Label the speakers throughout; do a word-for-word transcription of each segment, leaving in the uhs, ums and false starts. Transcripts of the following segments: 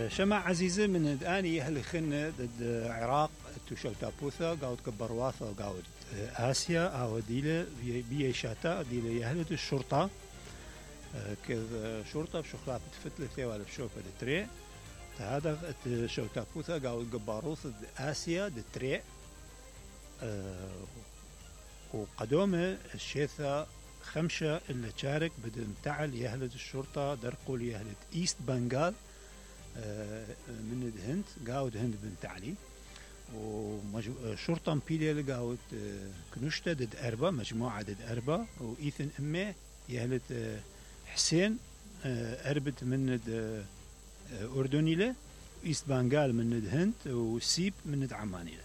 Speaker 1: شمع عزيزة من اني اهل خنة ضد عراق توشوتابوثا قاود كبرواثا قاود اسيا او ديله بي شاتا ديله يهلت الشرطة كذ شرطة بشخلات تفتلة ولا بشوفة دتري هذا شوتابوثا قاود قباروث اسيا دتري وقدومه الشيثة خمسة اللي شارك بدم تعل يهلت الشرطة درقول يهلت ايست بنغال من الهند قاود هند بنت علي وشرطة مبيلة قاود كنشتة ضد أربعة مجموعة ضد أربعة وإيثن أمه يهلت حسين أربت من أردني له إيست بنغال من الهند وسيب من عماني له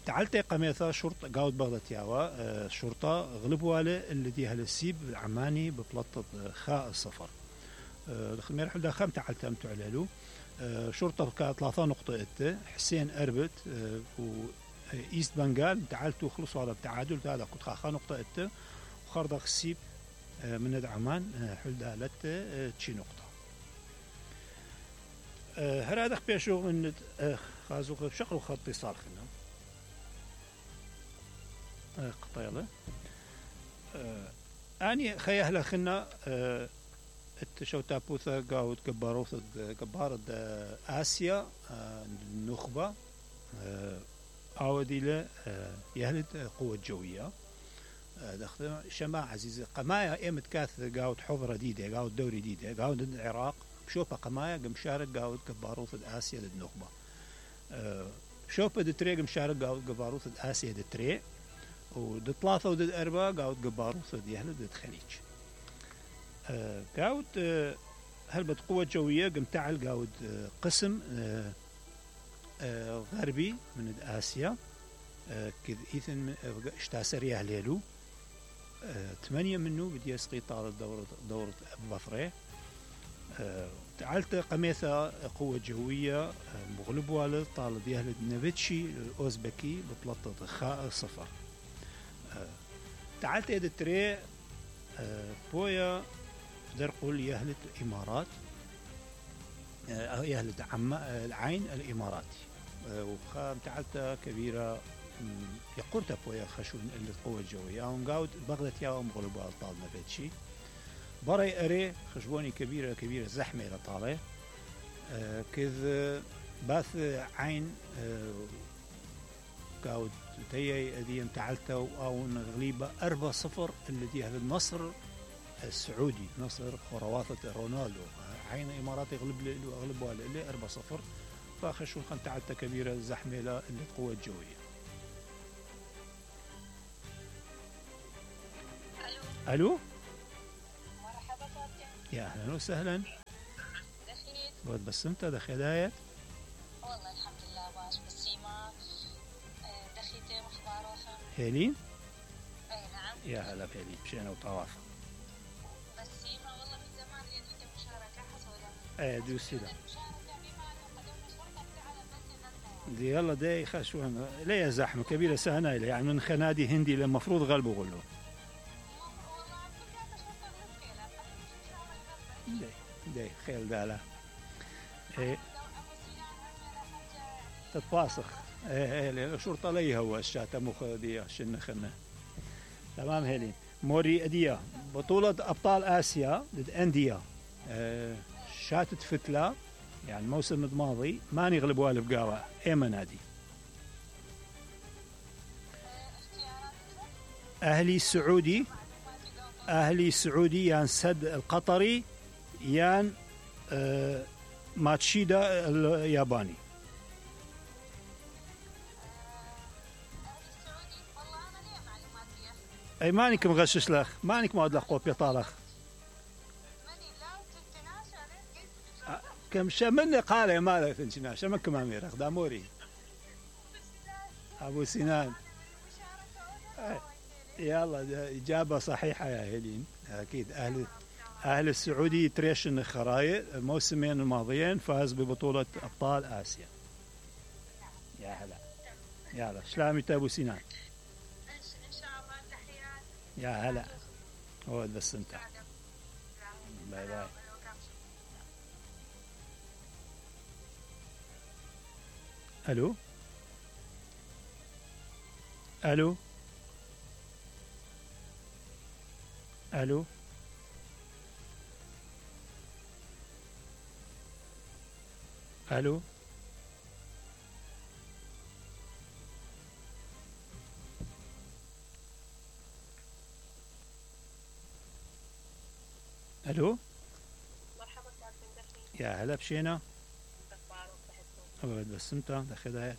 Speaker 1: تعالت قميثا شرطة قاود بغدت ياوا شرطة غلبوا له اللي دي هالسيب العماني ببلطة خاء السفر الخمير حدا خم تعالت أمتو علالو شرطة كانت ثلاثة نقطة إت حسين أربت وإيست بنغال تعالتوا خلصوا على التعادل هذا كنت خاخا نقطة إت وخرض خسيب من عمان حلدا لت تشي نقطة هرادخ بيشو من خازوق بشقل وخط اتصال خلنا قطيلة أني خيهلا خلنا التشوتابوثا قاود كباروث كبار آسيا النخبة عودي يهلت قوة جوية دخل شماع عزيزة قمايا ايمت كاث قاود حضرة ديدة قاود دوري ديدة قاود العراق بشوفها قمايا مشارك قاود كباروث آسيا النخبة شوفها دتري مشارك قاود كباروث آسيا دتري ودت ثلاثة ودت أربعة قاود كباروث يهلت دت خليج قاود هلبت قوة جوية قم تعال قاود قسم غربي من آسيا كذ إيثن اشتاسر يهليلو ثمانية منه بدي يسقي طال دورة دورة بفرة تعالت قميثة قوة جوية مغلب والد طال يهلد نفتشي الأوزبكي ببلطة خاء صفر تعالت يد التري بويا در قول يهلت الإمارات يهلت عم العين الإماراتي وخام تعالت كبيرة يقرت بويا خشون القوة الجوية ونقاود بغدت ياهم غلبوا الطال نفتشي بري أري خشبوني كبيرة كبيرة زحمة لطالة كذ باث عين قاود تيي أديم تعالتو أو غليبة أربعة صفر اللي دي هذا النصر السعودي نصر خرواثة رونالدو عين إماراتي غلب له أغلبوا له أربعة صفر فخشوا خن تعالت كبيرة زحمة اللي القوة الجوية. ألو ألو
Speaker 2: مرحبا صوتك
Speaker 1: يا أهلا وسهلا
Speaker 2: دخيت
Speaker 1: بود بس أنت دخيداية
Speaker 2: والله الحمد لله باش بالسيما دخيتي مخباروخة
Speaker 1: هيلين
Speaker 2: أي نعم
Speaker 1: يا هلا بهيلين مشينا وطوافة
Speaker 2: بالسيما والله من زمان لين عندي مشاركة حصولا
Speaker 1: ايه دوسي لا
Speaker 2: المشاركة بما أنه قدوم الشرطة على بس
Speaker 1: دي يلا دي خشوان ليه زحمة كبيرة سهنا يعني من خنادي هندي للمفروض غلبوا غلو دي دي خيل دالا ايه تتواصخ ايه ايه الشرطة ليه هو الشاتا مخ دي عشان خنا تمام هيلين موري اديا بطولة ابطال اسيا ضد انديا اه شاتت فتلة يعني الموسم الماضي ما نغلبوا بقاوة ايما نادي اهلي السعودي اهلي السعودي يان سد القطري يان اه ماتشيدا الياباني اي مانك مغشش لك مانك ما ادلق قوبي طالخ كم شمن قال يا ماذا فنشنا شمن كم امير داموري ابو سنان يلا اجابه صحيحه يا هيلين اكيد اهل اهل السعودي تريشن خرايط الموسمين الماضيين فاز ببطوله ابطال اسيا يا هلا يلا سلامي ابو سنان
Speaker 2: ان شاء الله تحيات
Speaker 1: يا هلا هو بس انت باي باي الو الو الو الو الو
Speaker 2: مرحبا كابتن دحين.
Speaker 1: يا هلا بشينا.
Speaker 2: اخبارك صحتكم؟
Speaker 1: أبد بس انت دخلها
Speaker 2: اوكي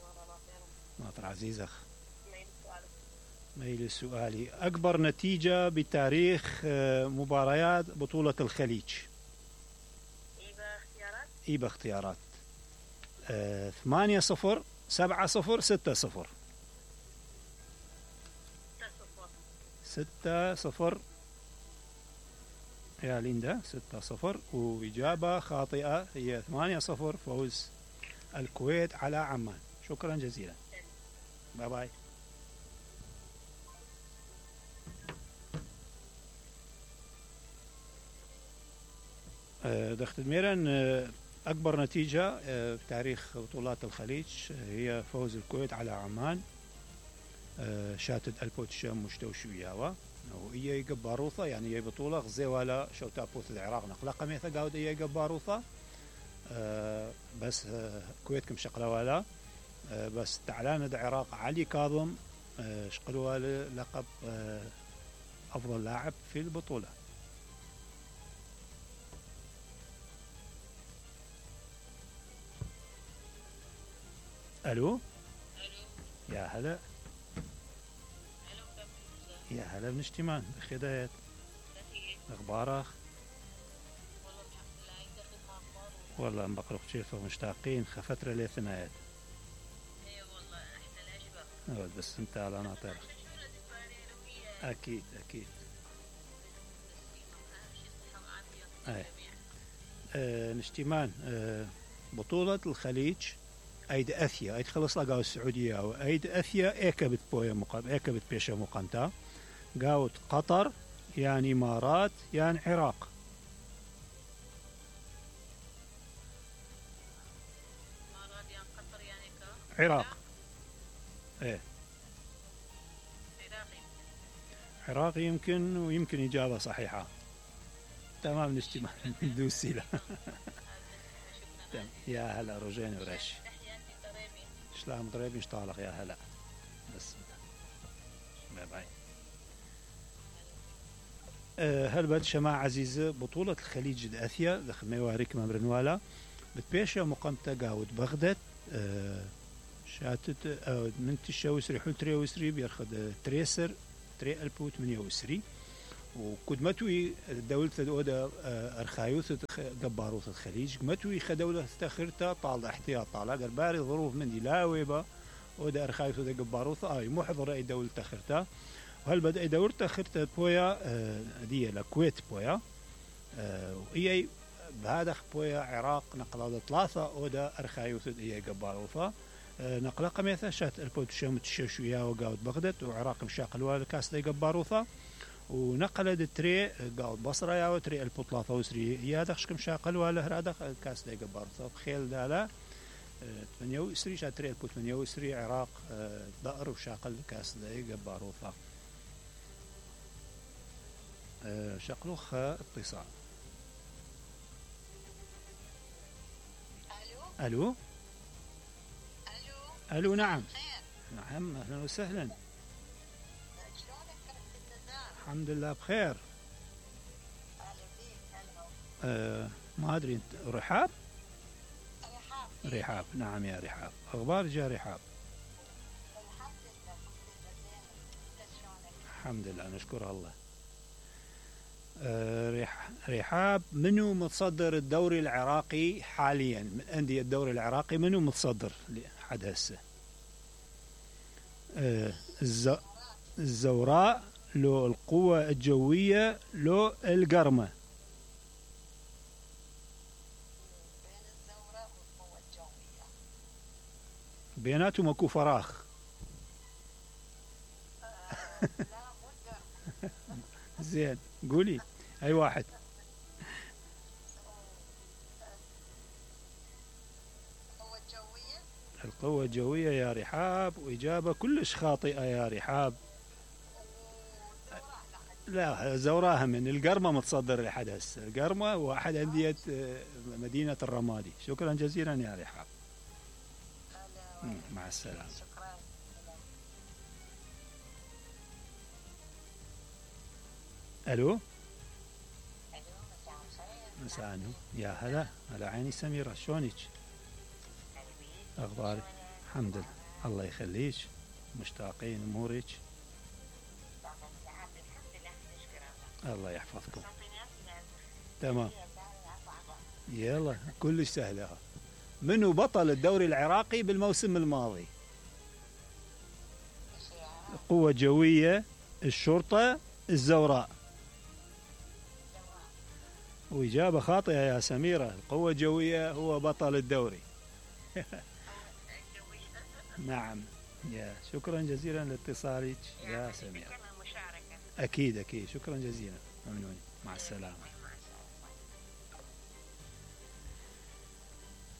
Speaker 2: والله ما خير.
Speaker 1: ناطر عزيز اخ.
Speaker 2: مين سؤالك؟
Speaker 1: ميل سؤالي اكبر نتيجة بتاريخ آه، مباريات بطولة الخليج.
Speaker 2: ايبا اختيارات؟
Speaker 1: ايبا اختيارات. آه، ثمانية صفر، سبعة صفر، ستة صفر.
Speaker 2: ستة صفر.
Speaker 1: ستة صفر يا ليندا، ستة صفر، وإجابة خاطئة هي ثمانية صفر فوز الكويت على عمان. شكرا جزيلا. باي باي. آه، دخت الميران آه، أكبر نتيجة آه، في تاريخ بطولات الخليج آه، هي فوز الكويت على عمان. آه، شاتت البوتشام مشتوش وياوا وهي جباروثة، يعني هي بطولة غزي ولا شوتا بوث العراق نقلا قميثة قاود هي جباروثة. آه، بس آه، كويت كم شقلا ولا آه، بس تعلان العراق علي كاظم آه، شقلوا لقب آه، أفضل لاعب في البطولة. ألو
Speaker 2: الو.
Speaker 1: يا هلا.
Speaker 2: الو كابتن.
Speaker 1: يا هلا بن اجتماع بخدايات
Speaker 2: كيف؟
Speaker 1: أخبارك؟
Speaker 2: والله الحمد لله. انت خدمة اخبار؟
Speaker 1: والله مبقرق شيفه مشتاقين خفترة لثنايات.
Speaker 2: اي والله احنا الاشباب.
Speaker 1: بس انت على ناطر.
Speaker 2: عشان شو لازم فارين وهي
Speaker 1: أكيد أكيد.
Speaker 2: اهم شيء الصحة والعافية
Speaker 1: أي.
Speaker 2: للجميع.
Speaker 1: آه نشتمان آه بطولة الخليج أيد أثيا أيد خلص لقاو السعودية وأيد أثيا إيكا بتبويا مقام إيكا بتبيشا مقامتا قاوت قطر يعني إمارات يعني عراق.
Speaker 2: امارات يعني قطر يعني كا
Speaker 1: عراق. إيه
Speaker 2: عراقي.
Speaker 1: عراق يمكن ويمكن إجابة صحيحة. تمام نشتمان دوسي له.
Speaker 2: شكرا.
Speaker 1: يا هلا رجعني ورش.
Speaker 2: تحياتي طريبي.
Speaker 1: شلام ضريب مشطالق يا هلا. بس باي باي. أه هل بد شماعة عزيزة بطولة الخليج الأثيا دخل ميواريك ممرنوالا بتبيشة مقامتة قاود بغداد. أه شاتت أه من تشاوسري حول تريوسري بيرخد تريسر تري ألبو ثمانية وعشرين وكدمتوي دولة الأودة أرخايوث جباروث الخليج متوي خدولة استخرتا طال احتياط طال قرباري ظروف من دي لا ويبا أودة أرخايوث جباروث آي محضر أي دولة تخرتا وهل بدأ أي دولة تخرتا بويا دي الكويت بويا وهي بهذا بويا عراق نقل ثلاثة أودة أرخايوث هي جباروثة نقل قميثة شات البوت شمت شويا وقاود بغداد وعراق مشاقل والكاس دي جباروثة ونقل التري قال بصرة يا وتري البطلة وسري هي هذا خشكم شاقل ولا هذا كاس دي جبار صوب خيل دالا ثمانية وسري شاتري البوت ثمانية وسري عراق دقر وشاقل كاس دي جبار وفا شقلوخ اتصال.
Speaker 2: الو.
Speaker 1: الو
Speaker 2: الو.
Speaker 1: الو نعم.
Speaker 2: خير.
Speaker 1: نعم اهلا وسهلا.
Speaker 2: شلونك كابتن نزار؟
Speaker 1: الحمد لله بخير.
Speaker 2: اهلا بيك. هلا.
Speaker 1: أه ما ادري انت رحاب.
Speaker 2: رحاب.
Speaker 1: رحاب نعم يا رحاب اخبار جا رحاب.
Speaker 2: الحمد لله كلنا زين. انت شلونك؟
Speaker 1: الحمد لله نشكر الله. أه رح رحاب منو متصدر الدوري العراقي حاليا من أندية الدوري العراقي منو متصدر لحد هسه؟ أه الز... الزوراء لو القوة الجوية لو القرمة؟
Speaker 2: بين الزوراء والقوة الجوية.
Speaker 1: بيناتهم اكو فراخ.
Speaker 2: آه لا مو القرمة.
Speaker 1: زين قولي اي واحد.
Speaker 2: القوة الجوية.
Speaker 1: القوة الجوية يا رحاب، وإجابة كلش خاطئة يا رحاب. لا زوراها من القرمة متصدر لحد هسه، القرمة واحد أندية مدينة الرمادي. شكرا جزيلا يا رحاب. مع السلامة. ألو مساء النور. يا هلا هلا عيني سميرة، شلونك؟ أخبارك؟ الحمد لله الله يخليك، مشتاقين أمورك. الله يحفظكم. تمام يلا كلش سهلة. منو بطل الدوري العراقي بالموسم الماضي؟ القوة الجوية، الشرطة، الزوراء. وإجابة خاطئة يا سميرة، القوة الجوية هو بطل الدوري. نعم. يا شكرا جزيلا لاتصالك يا سميرة. أكيد أكيد شكرا جزيلا، ممنون. مع السلامة.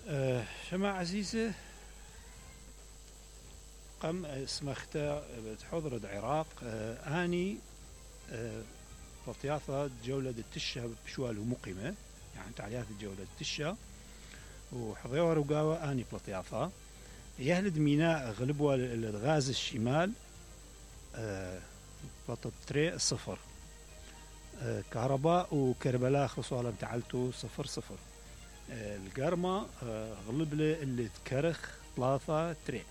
Speaker 1: أه شماعة عزيزة قم اسمختا بتحضر العراق. أه اني أه بطياثة جولة التشة بشوال ومقيمة، يعني تعليات الجولة التشة وحضيور وقاوة اني بلطياثة يهلد ميناء غلبوا الغاز الشمال أه بطل تري الصفر. أه كهرباء وكربلاء خصوصا تعلتو صفر صفر. أه القرمة أه غلبلة اللي تكرخ ثلاثة تري.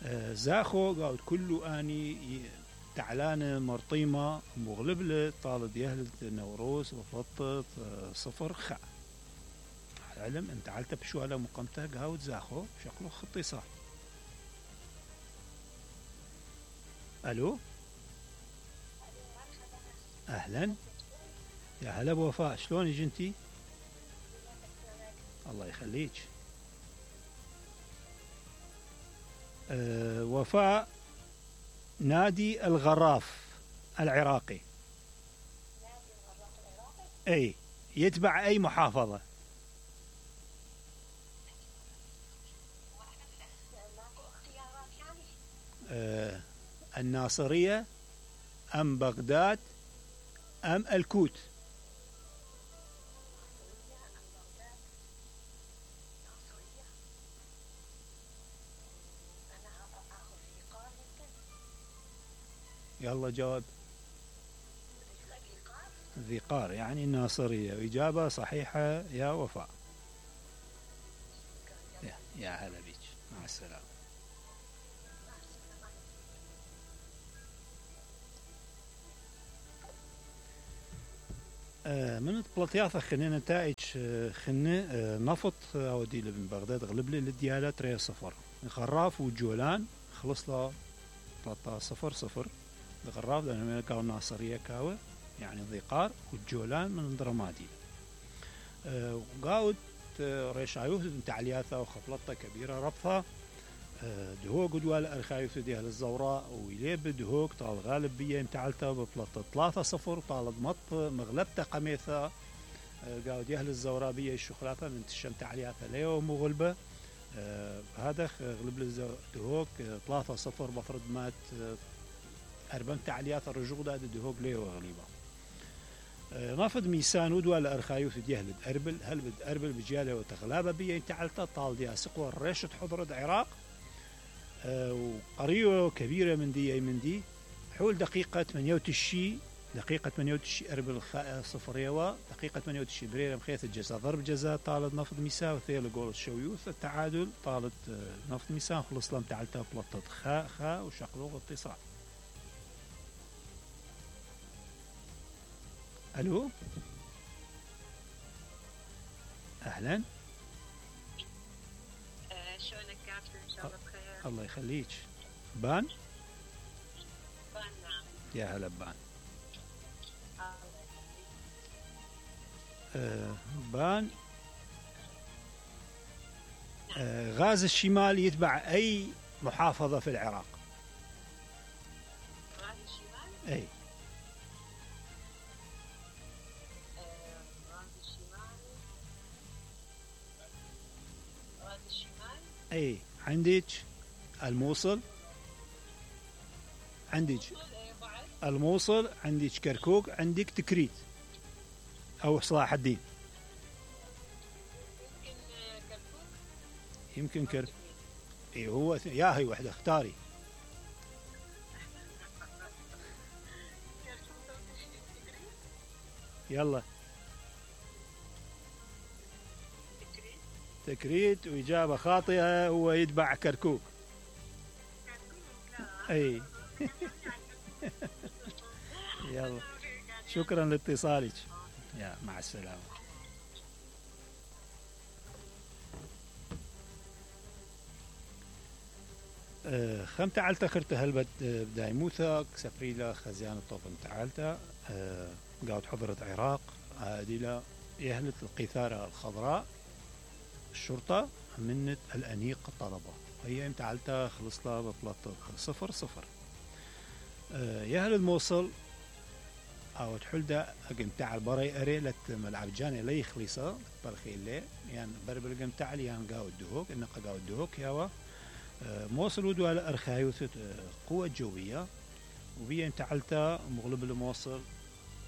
Speaker 1: أه زاخو قاعد كله اني تعلانة مرطيمة مغلبلة طالد يهلد نوروس وفطت أه صفر خا. علم انت علت بشواله مقامته قاود زاخو شكله خطي صار. الو اهلا يا هلا بوفاء، شلونك انتي؟ الله يخليك. أه وفاء نادي الغراف العراقي. نادي الغراف العراقي اي يتبع اي محافظة؟ أه الناصرية ام بغداد ام الكوت؟ يلا جواب. ذي قار يعني الناصرية، وإجابة صحيحة يا وفاء. يا, يا هلا بيك، مع السلامة. آه من بلطياثة خلينا نتائج آه خلنا آه نفط أودي من بغداد غلب لي للديالة تري صفر. غراف وجولان خلص له ثلاثة صفر صفر. الغراف لأنه كاو ناصرية كاوة يعني ضيقار، والجولان من درمادي. أه وقاود أه ريشايوث تعلياثة وخفلطة كبيرة ربطة. أه دهوق دوال أرخايوث ديها للزوراء ويليب دهوق طال غالب بيه متعلته بفلطة ثلاثة صفر طالب مط مغلبته قميثة. أه قاود يهل الزوراء بيه الشخلاثة من تشم تعلياثة ليو مغلبة. أه هذا غلب دهوق ثلاثة صفر بفرض مات أه أربعة تعليات الرجوع ده دهوق ليه وغليبة. أه نافذ ميسان ودوا لأرخايوث ديهلد أربل هل بد أربل بجاله وتغلابة بيه تعلتا طال ديها سقوى الرشة حضر العراق. أه وقرية كبيرة من دي من دي حول دقيقة ثمانية وتسعين دقيقة ثمانية وتسعين أربل صفريوا دقيقة ثمانية وتسعين بريرة مخيث الجزاء ضرب جزاء طالت نافذ ميسان وثيل جول الشويوث التعادل طالت نافذ ميسان خلص لهم تعلتا بلطت خاء خاء وشقلوغ اتصال. الو اهلا.
Speaker 2: أه شلونك كابتن؟ ان شاء الله بخير.
Speaker 1: الله يخليك. بان؟
Speaker 2: بان نعم.
Speaker 1: يا هلا بان. آه بان. آه غاز الشمال يتبع اي محافظة في العراق؟
Speaker 2: غاز الشمال؟
Speaker 1: اي اي عندك الموصل، عندك
Speaker 2: إيه بعد.
Speaker 1: الموصل، عندك كركوك، عندك تكريت او صلاح الدين.
Speaker 2: يمكن آه، كركوك.
Speaker 1: يمكن كركوك. اي هو ث- يا هي وحده اختاري.
Speaker 2: كركوك أو تكريت.
Speaker 1: يلا.
Speaker 2: تكريت.
Speaker 1: تكريت، واجابه خاطئه، هو يتبع كركوك.
Speaker 2: كركوك لا.
Speaker 1: اي. يلا، شكرا لاتصالك. يا مع السلامه. آه، خم تعالتا خرت هلبت آه، بدايموثا سفريلا خزيان الطوفن تعالتا آه، قاعد حضرت عراق عادلة يهلت القيثارة الخضراء الشرطة منت الأنيق الطلبة. هي تعالتا خلص لها بطلت صفر صفر. آه، يهل الموصل او تحلدا قمتاع البري اري لت ملعب جاني لي خليصه برخي لي يعني بربل قمتاع لي يعني قاو الدهوك انك قاو الدهوك ياوا آه، موصل ودو على ارخايوث آه، قوة جوية وبيا تعلتا مغلب الموصل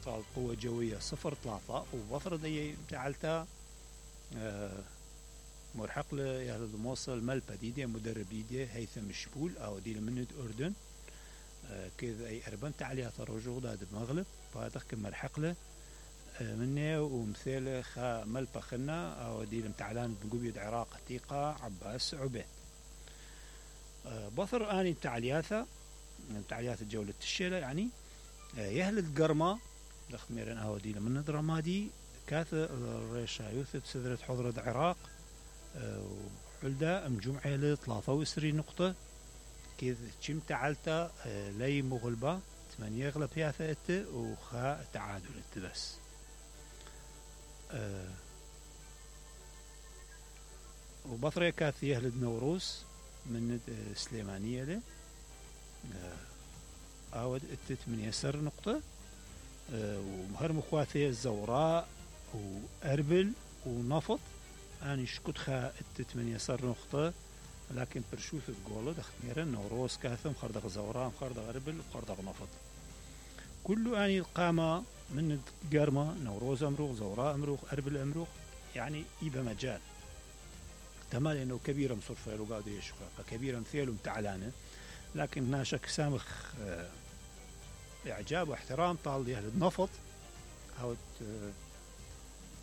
Speaker 1: طال قوة جوية صفر ثلاثة وبفر دي تعلتا آه، مرحق له يا الموصل مال بديدة مدرب ديدة هيثم الشبول او دي من اردن آه، كذا اي اربن تعليات الرجوع داد بمغلب فاتخ كم مرحق له آه، منه ومثاله خا ملبا خنا او دي المتعلان بقبيد عراق تيقا عباس عبيد آه، بثر اني تعلياثا تعليات الجولة الشيلة يعني آه، يهلت قرمة لخميرن او دي من درامادي كاث الريشا يوثت سدرة حضرة عراق آه، وحلدا مجموعة ل ثلاثة وعشرين نقطة كذ كم تعلتا آه، لي مغلبة ثمانية يغلب فيها ثلاثة وخا تعادل بس آه، وبطريقة كاث يهلد نوروس من آه، سليمانية له آه، اود اتت من يسر نقطة آه، ومهر مخواثي الزوراء واربل ونفط اني شكت خا اتت من يسر نقطة لكن برشوث الجولة دخميرا نوروس كاثم خردق زوراء خردق اربل وخردق نفط كله اني القامة من قرمة نوروز امروخ زوراء امروخ اربل امروخ يعني يبقى مجال تمام انه كبيرة مصرفة له قاعد يشقى كبيرة مثيل ومتعلانة لكن ناشك سامخ آه، اعجاب واحترام طال اهل النفط او آه،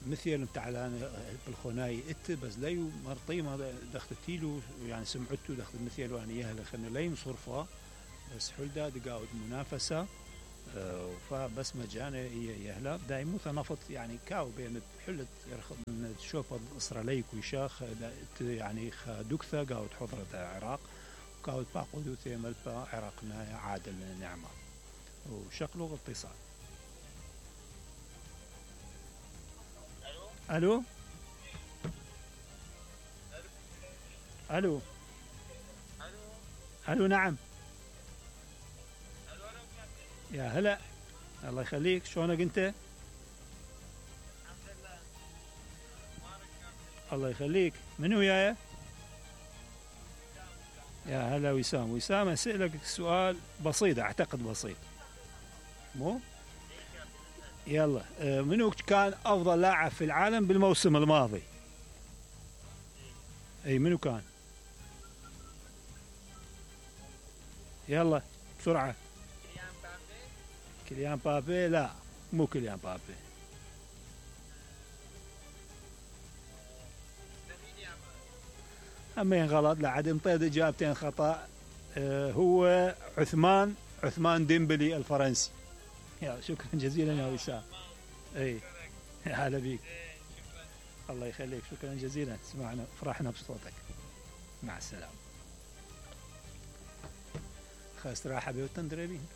Speaker 1: مثل متعلان بالخناي ات بس ليو مرطيمه دختتيلو يعني سمعته دخت مثل واني يهل خلنا لي مصرفه بس حلدا دقاود منافسه آه، فبس مجانا يهلا دايمو نفط يعني كاو بين حلت من تشوف اسرائيلي كويشاخ يعني خدكثه قاود حضره العراق وقاود باقودو ثمل عراقنا عادل نعمه وشكله اتصال. الو الو الو نعم يا هلا الله يخليك شلونك انت؟ الله يخليك منو وياي؟ يا هلا وسام. وسام اسالك سؤال بسيط اعتقد بسيط مو؟ يلا آه، منو كان افضل لاعب في العالم بالموسم الماضي؟ اي منو كان؟ يلا بسرعة.
Speaker 2: كيليان مبابي.
Speaker 1: كيليان بابي؟ لا مو كيليان بابي.
Speaker 2: لامين يامال.
Speaker 1: همين غلط لعد مطيد اجابتين خطأ آه، هو عثمان عثمان ديمبلي الفرنسي. يا شكرا جزيلا يا وسام. اي هلا بيك. الله يخليك شكرا جزيلا سمعنا فرحنا بصوتك. مع السلامة. خاص راحة بيوتن دربين.